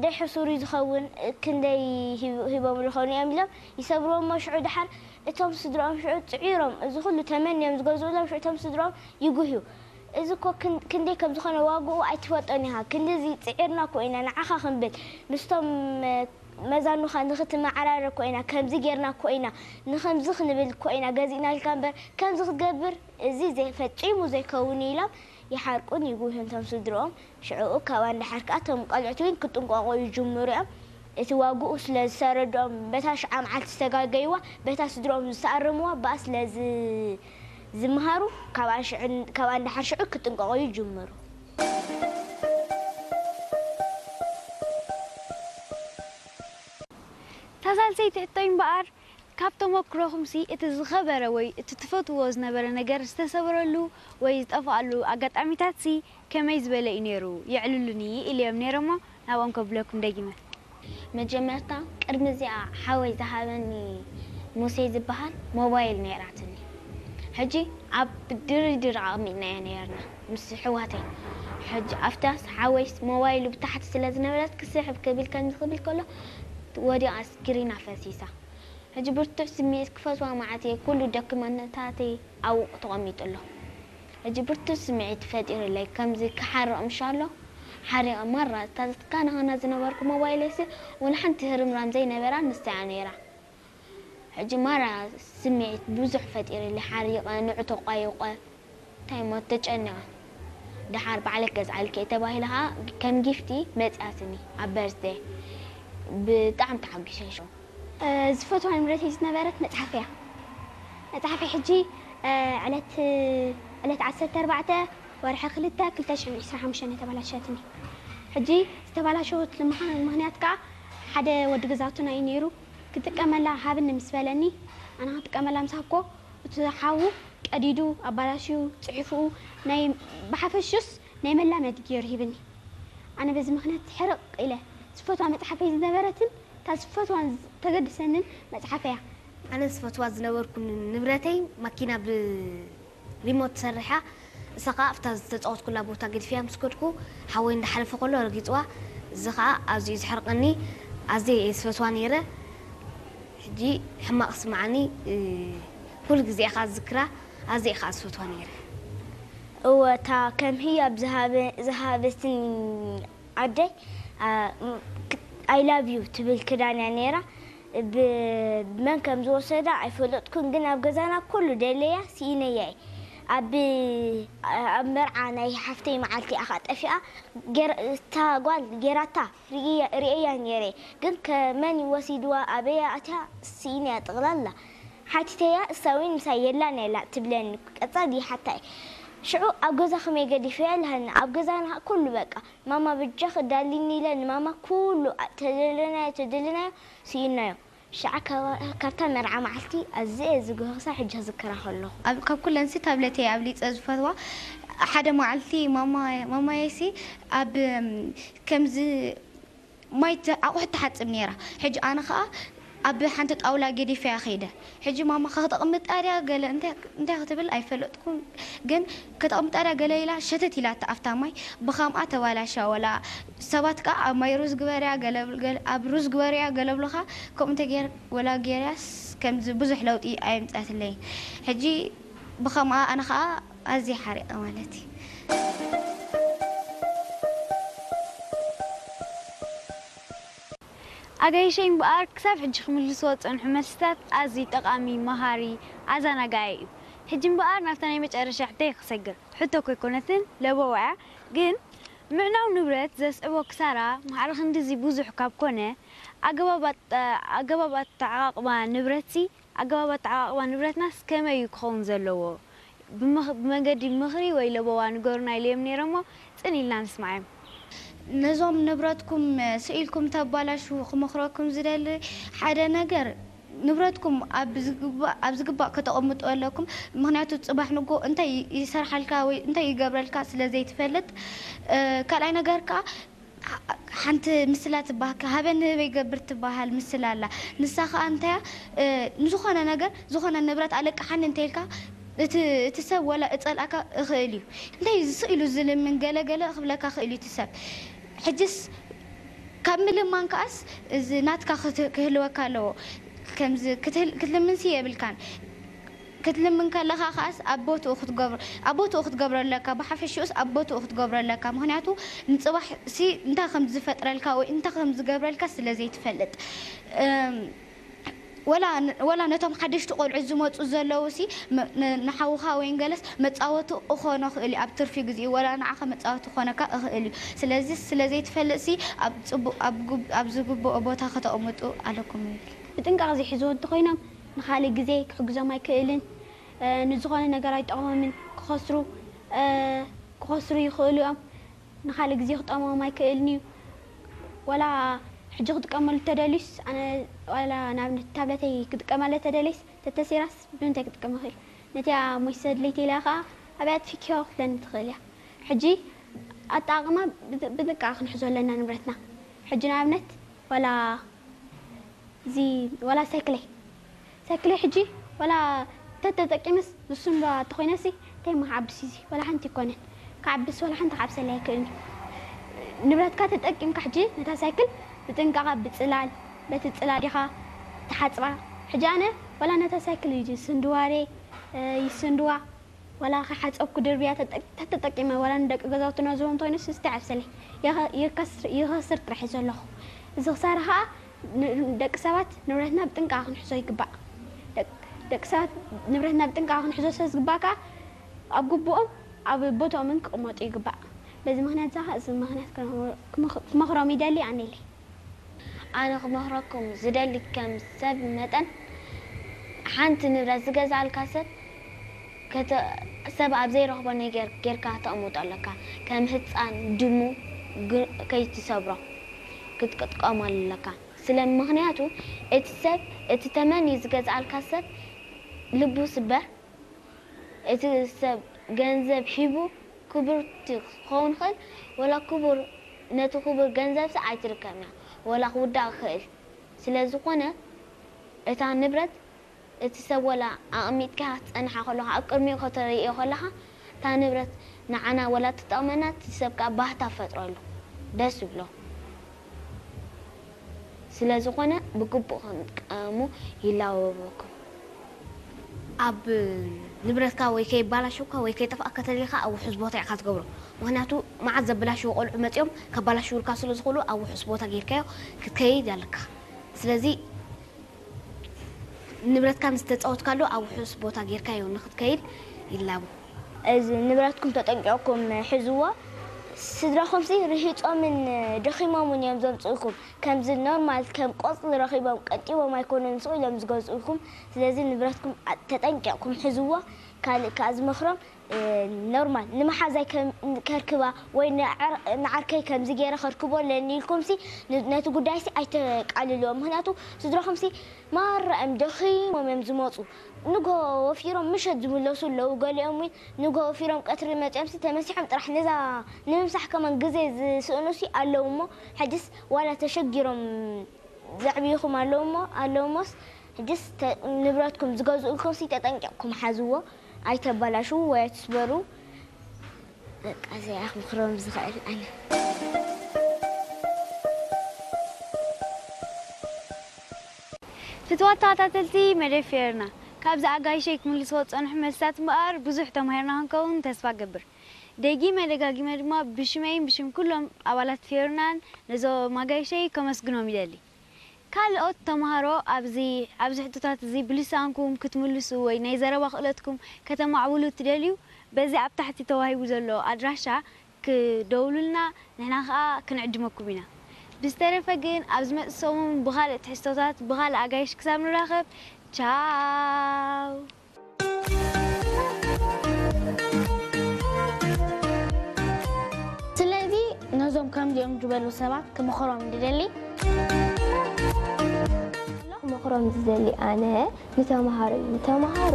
ደይ ሕሱር እዩ ዝኸውን፣ ክንደይ ሂቦም ዝኾኑ እዮም ኢሎም ይሰብርዎም እሞ ሽዑ ደሓር እቶም ስድራኦም ሽዑ ጽዒሮም እዚ ኩሉ ተመንዮም ዝገዝኡሎም ሽዑ እቶም ስድራኦም ይጉህዩ። እዚ እኮ ክንደይ ከም ዝኾነ ዋግኡ ኣይትፈልጦን ኢኻ። ክንድዚ ጽዒርና እኮ ኢና ንዓኻ ክንብል ምስቶም መዛኑኻ ንኽትመዓራረ እኮ ኢና፣ ከምዚ ጌርና እኮ ኢና፣ ንኸምዚ ክንብል እኮ ኢና ገዚእናልካ እምበር ከምዚ ክትገብር እዚ ፈጺሙ ዘይከውን ኢሎም ይሓርቁን ይጉህዩን እቶም ስድርኦም። ሽዕኡ ካብኣ ንደሓር ከኣ እቶም ቆልዑት እውን ክጥንቀቑ ይጅምሩ እዮም። እቲ ዋግኡ ስለ ዝተረድኦም በታ ሽዓ መዓልቲ ዝተጋገይዋ በታ ስድርኦም ዝተኣረምዋ ብኣ ስለ ዝምሃሩ ካብኣ ንደሓር ሽዑ ክጥንቀቑ ይጅምሩ። እታ ሳልሰይቲ ሕቶይ እምበኣር ካብ ተመኩሮኹምሲ እቲ ዝኸበረ ወይ እቲ ትፈትውዎ ዝነበረ ነገር ዝተሰበረሉ ወይ ዝጠፍኣሉ ኣጋጣሚታትሲ ከመይ ዝበለ እዩ ነይሩ? የዕልሉኒ ኢለዮም ነይረ እሞ ናብኦም ከብለኩም ደጊመ። መጀመርታ ቅድሚ እዚኣ ሓወይ ዝሃበኒ ሙሴ ዝበሃል ሞባይል ነይራትኒ። ሕጂ ኣብ ድርድር ኣቐሚጥናያ ነይርና ምስ ኣሕዋተይ። ሕጂ ኣብታስ ሓወይስ ሞባይሉ ብታሕቲ ስለ ዝነበረት ክስሕብ ክብል ከምዚ ክብል ከሎ ወዲቓ ስክሪና ፈሲሳ። ሕጂ ብርቱዕ ስምዒት ክፈትዋ መዓት እየ፣ ኩሉ ዶክመንታተይ ኣብኡ ተቐሚጡ ኣሎ። ሕጂ ብርቱዕ ስምዒት ፈጢሩለይ፣ ከምዚ ክሓርቕ ምሻሎ ሓሪቐ ማራ እታ ዘትካናኸና ዝነበርኩ ሞባይለይሲ ወላ ሓንቲ ህርምራም ዘይነበራ ንሳ እያ ነይራ። ሕጂ ማራ ስምዒት ብዙሕ ፈጢሩለይ፣ ሓሪቐ፣ ንዑ ተቋይቆ። እንታይ እሞ ተጨኒቐ። ደሓር ባዕለይ ክገዝኣልኪ እየ ተባሂለ ኸዓ ከም ጊፍቲ መፂኣትኒ ኣብ በርዝደይ። ብጣዕሚ ተሓጒሰ ሽዑ። ዝፈትዋ ንብረተይ ዝነበረት መፅሓፍ እያ። መፅሓፈይ ሕጂ ዕለት ዕለት ዓሰርተ ኣርባዕተ ወርሒ ክልተ ክልተ ሽሕን ዕስራን ሓሙሽተን እያ ተባላሸትኒ። ሕጂ ዝተባላሸወትሉ ምኽንያት ከዓ ሓደ ወዲ ገዛውትና እዩ ነይሩ። ክጥቀመላ ሃብኒ ምስ በለኒ ኣነ ክጥቀመላ ምስ ሃብኩዎ እቲ ሓዉ ቀዲዱ ኣባላሽዩ ፅሒፍኡ ናይ ብሓፈሽኡስ ናይ መላመዲ ገይሩ ሂብኒ። ኣነ በዚ ምኽንያት ሕርቕ ኢለ ዝፈትዋ መፅሓፈይ ዝነበረትን እታ ዝፈትዋን ተገድሰንን መፅሓፈይ እያ። ኣነ ዝፈትዋ ዝነበርኩ ንብረተይ ማኪና ብ ሪሞት ትሰርሕ እያ። እሳ ኸዓ ኣብታ ዝተፃወትኩላ ቦታ ገዲፈያ ምስ ከድኩ ሓወይ እንዳሓለፈ ከሎ ረጊፅዋ። እዚ ኸዓ ኣዝዩ እዩ ዘሕርቐኒ። ኣዝየ እየ ዝፈትዋ ነይረ። ሕጂ ሕማቕ ይስምዓኒ። ኩሉ ግዜ እየ ኸዓ ዝዝክራ። ኣዝየ እየ ኸዓ ዝፈትዋ ነይረ። እወ እታ ከም ህያብ ዝሃበትኒ ዓደይ I love you ትብል ክዳን እያ ነይራ። ብመን ከም ዝወሰዳ ኣይፈለጥኩን ግን ኣብ ገዛና ኩሉ ደለያ ስኢነያ እየ። ኣብ ኣብ መርዓ ናይ ሓፍተይ መዓልቲ እያ ከኣ ጠፊኣ። እታ ጓል ጌራታ ርእየያ ነይረ ግን ከ መን እዩ ወሲድዋ ኣበይ እያ ኣትያ ስኢነያ ጠቕላላ። ሓቲተያ እሳ እውን ምሳይ የላን እያ ትብለኒ። ቀጻሊ ይሓታ እየ። ሽዑ ኣብ ገዛ ከመይ ገዲፈያ ኢላትኒ። ኣብ ገዛና ኩሉ በቃ ማማ በጃኺ ዳልይኒ ኢለ ንማማ ኩሉ ተደለናዮ ተደለናዮ ስኢንናዮ። ሽዓ ካብታ መርዓ መዓልቲ ኣዝየ እየ ዝጉህ ክሳብ ሕጂ ክዝክራ ከለኹ። ካብ ኩለንሲ ታብለተይ ኣብሊፀ ዝፈትዋ ሓደ መዓልቲ ማማየሲ ኣብ ከምዚ ማይ ኣቑሑት ትሓፅብ ነይራ። ሕጂ ኣነ ከዓ ኣብ ሓንቲ ጣውላ ገዲፈያ ከይደ። ሕጂ ማማ ከተቕምጣ ድያ ገለ እንታይ ክትብል ኣይፈለጥኩን፣ ግን ከተቕምጣ ድያ ገለ ኢላ ሸተት ኢላታ ኣብታ ማይ። ብኸምኣ ተባላሻ። ወላ ሰባት ከዓ ኣብ ማይ ሩዝ ግበርያ፣ ኣብ ሩዝ ግበርያ ገለ ብሉኻ። ከምኡ እንተ ወላ ገይርያስ ከምዚ ብዙሕ ለውጢ ኣየምፀትለይን። ሕጂ ብኸምኣ ኣነ ከዓ ኣዝየ ሓሪቐ ማለት እዩ። ኣጋይሸይ እምበኣር ክሳብ ሕጂ ክምልስዎ ዝጸንሑ መልስታት ኣዝዩ ጠቓሚ፣ መሃሪ፣ ኣዘናጋዒ እዩ። ሕጂ እምበኣር ናብታ ናይ መጨረሻ ሕቶይ ክሰግር። ሕቶ እኮ ኣይኮነትን፣ ለበዋ እያ። ግን ምዕናው ንብረት ዘስዕቦ ክሳራ ማዕረ ክንድዚ ብዙሕ ካብ ኮነ፣ ኣገባብ ኣጠ- ኣገባብ ኣተዓቓቕባ ንብረትሲ ኣገባብ ኣተዓቓቕባ ንብረትናስ ከመይ እዩ ክኸውን ዘለዎ? ብመንገዲ ምኽሪ ወይ ለበዋ ንገሩና ኢለዮም ነይረ እሞ ጽን ኢልና ንስምዓዮም። ነዞም ንብረትኩም ስኢልኩም ተባላሽዉ ክመኽረኩም ዝደሊ ሓደ ነገር ንብረትኩም ኣብ ዝግባእ ከተቐምጡ ኣለኩም። ምኽንያቱ ጽባሕ ንጎ እንታይ ይሰርሓልካ ወይ እንታይ ይገብረልካ ስለ ዘይትፈልጥ። ካልኣይ ነገር ከኣ ሓንቲ ምስላ ትበሃል፣ ሃበኒ ህበይ ገብር ትበሃል ምስላ ኣላ። ንሳ ኸኣ እንታይ እያ፣ ንዝኾነ ነገር፣ ዝኾነ ንብረት ኣለቅሓኒ እንተኢልካ፣ እቲ ሰብ ወላ እጸልኣካ እኽእል እዩ። እንታይ እዩ ዝስእ ኢሉ ዝልምን ገለ ገለ ክብለካ ክእል እዩ እቲ ሰብ። ሕጅስ ካብ ምልማን ከኣስ እዚ ናትካ ክህልወካ ኣለዎ። ከምዚ ክትልምንሲ የብልካን። ክትልምን ከለኻ ከኣስ ኣብ ቦትኡ ክትገብሮ ኣብ ቦትኡ ክትገብሮ ኣለካ። ብሓፈሽኡስ ኣብ ቦትኡ ክትገብሮ ኣለካ። ምኽንያቱ ንጽባሕ ሲ እንታይ ከም ዝፈጥረልካ ወይ እንታይ ከም ዝገብረልካ ስለ ዘይትፈልጥ። ወላ ነቶም ሓደሽቲ ቆልዑ ዝመፁ ዘለዉ ሲ ንሓውኻ ወይ ገለስ መፃወቱ እኾኖ ክእል እዩ። ኣብ ትርፊ ግዜ ወላ ንዓኸ መፃወቱ ክኾነካ እኽእል እዩ። ስለዚ ስለ ዘይትፈልጥ ሲ ኣብ ዝግብኦ ቦታ ከተቕምጡ ኣለኩም ይብል። ብጥንቃቕ ዘይሕዝዎ እንተኾይኖም ንኻልእ ግዜ ክሕግዞም ኣይክእልን። ንዝኾነ ነገር ኣይጠቕሞምን። ክኸስሩ ክኸስሩ ይኽእሉ እዮም። ንኻልእ ግዜ ክጠቕሞም ኣይክእልን እዩ። ዋላ ሕጂ ክጥቀመሉ ተደልዩስ ኣነ ዋላ ንኣብነት ታብለተይ ክጥቀመለ ተደልየስ ተተሲራስ ብምንታይ ክጥቀም ይኽእል? ነቲኣ ሞይሰ ድሌት ኢላ ኸዓ ኣብያ ኣጥፊክዮ ክትብለኒ ትኽእል እያ። ሕጂ ኣጠቓቕማ ብጥንቃቐ ክንሕዞ ኣለና ንብረትና። ሕጂ ንኣብነት ዋላ እዚ ዋላ ሳይክለይ ሳይክለይ ሕጂ ዋላ ተተጠቂመስ ዝስንዶ ተኾይነሲ እንታይ ምክዓብስ እዚ ዋላ ሓንቲ ይኮነን። ክዓብስ ዋላ ሓንቲ ክዓብሰለይ ኣይክእልን። ንብረትካ ተጠቂምካ ሕጂ ነታ ሳይክል ብጥንቃቐ ብፅላል በቲ ፅላል ዲኻ ትሓፅባ። ሕጂ ኣነ ዋላ ነታ ሳይክል እዩ ስንድዋሬ ይስንድዋ ዋላ ከሓፀብኩ ድርብያ ተጠቂመ ዋላ ንደቂ ገዛውትና ዝቦም እንተይነስ ስተ ዓብሰለይ ይኸስር ጥራሕ እዩ ዘለኹ። እዚ ክሳራ ከዓ ደቂ ሰባት ንብረትና ብጥንቃ ክንሕዞ ይግባእ። ደቂ ሰባት ንብረትና ብጥንቃ ክንሕዞ ስለ ዝግባእ ከዓ ኣብ ግቡኦም ኣብ ቦትኦምን ክቕመጡ ይግባእ። በዚ ምክንያት እዚ ምክንያት ክመኽሮም ይደሊ ኣነለይ። ኣነ ክመኽረኩም ዝደሊ ከም ሰብ መጠን ሓንቲ ንብረት ዝገዝኣልካ ሰብ ሰብ ኣብ ዘይረኽቦ ነገር ጌርካ ተቕምጦ ኣለካ። ከም ህፃን ድሙ ከይትሰብሮ ክትጥቀመሉ ኣለካ። ስለ ምክንያቱ እቲ ሰብ እቲ ተመንዩ ዝገዝኣልካ ሰብ ልቡ ስበር። እቲ ሰብ ገንዘብ ሂቡ ክቡርቲ ክኸውን ይኽእል፣ ወላ ክቡር ነቲ ክቡር ገንዘብሲ ኣይትርከብን እያ፣ ወላ ክውዳእ ይኽእል። ስለ ዝኾነ እታ ንብረት እቲ ሰብ ወላ ኣቐሚጥካ ክትጸንሓ ከለኻ ኣብ ቅድሚኡ ከተርእዮ ከለኻ እታ ንብረት ንዓና ወላ ትጠቕመና እቲ ሰብ ከኣ ባህታ ፈጥረሉ ደስ ይብሎ። ስለ ዝኾነ ብግቡእ ክንጥቀሙ ይላበወኩም። ኣብ ንብረትካ ወይ ከይባላሸውካ ወይ ከይጠፍኣካ ተደሊኻ ኣብ ውሑስ ቦታ ኢኻ ትገብሮ። ምኽንያቱ መዓት ዘበላሽዉ ቆልዑ መጺኦም ከባላሽውልካ ስለ ዝኽእሉ ኣብ ውሑስ ቦታ ጌርካዮ ክትከይድ ኣለካ። ስለዚ ንብረትካ ምስ ተጻወትካሉ ኣብ ውሑስ ቦታ ጌርካዮ ንኽትከይድ ይላቦ። እዚ ንብረትኩም ተጠንቂቕኩም ሕዝዎ። ስድራኹምሲ ርሂጾምን ደኺሞምን እዮም ዘምጽኡልኩም። ከምዚ ኖርማል ከም ቆጽሊ ረኺቦም ቀንጢቦም ኣይኮኑን ስቕ ኢሎም ዝገዝኡልኩም። ስለዚ ንብረትኩም ተጠንቂቕኩም ሕዝዎ። ካልእ ከኣ ዝመኽሮም ኖርማል ንመሓዛይ ከርክባ ወይ ንዓርከይ ከምዚ ገይረ ከርክቦ ኣለኒ ኢልኩምሲ ነቲ ጉዳይሲ ኣይተቃልልዎ። ምኽንያቱ ስድራኹምሲ ማራ እዮም ደኺሞም እዮም ዝመፁ። ንጎ ወፊሮም ምሸት ዝምለሱ ኣለዉ። ገሊኦም እውን ንጎ ወፊሮም ቀትሪ መፂኦምሲ ተመሲሖም ጥራሕ ነዛ ንምምሳሕ ከማን ግዜ ዝስእኑሲ ኣለዉ እሞ ሕጅስ ዋላ ተሸጊሮም ዘዕብይኹም ኣለዉ እሞ ኣለዉ እሞስ ሕጅስ ንብረትኩም ዝገዝኡልኩምሲ ተጠንቂቕኩም ሓዝዎ። ኣይተባላሽዉ ወይ ኣይትስበሩ። በቃ እዚኣ ክምኽሮም ዝኽእል ኣነ። ፍትዋት ተኸታተልቲ መደብ ፌርና ካብዚ ኣጋይሸይ ክምልስዎ ዝጸንሑ መልስታት እምበኣር ብዙሕ ተማሂርና ክንከውን ተስፋ ገብር። ደጊመ ደጋጊመ ድማ ብሽመይን ብሽም ኩሎም ኣባላት ፌርናን ነዞም ኣጋይሸይ ከመስግኖም ይደሊ። ካልኦት ተምሃሮ ኣብዚ ኣብዚ ሕቶታት እዚ ብልሳንኩም ክትምልሱ ወይ ናይ ዘረባ ክእለትኩም ከተማዕብሉ እትደልዩ በዚ ኣብ ታሕቲ ተዋሂቡ ዘሎ ኣድራሻ ክደውሉልና ንሕና ከኣ ክንዕድመኩም ኢና። ብዝተረፈ ግን ኣብ ዝመጽእ ሰሙን ብኻልእ ትሕዝቶታት ብኻልእ ኣጋይሽ ክሳብ ንራኸብ ቻው። ስለዚ ነዞም ከምዚኦም ዝበሉ ሰባት ክምኽሮም ዝደሊ ክመኽሮም ዝደሊ ኣነ ንተምሃሮ እዩ። ንተምሃሮ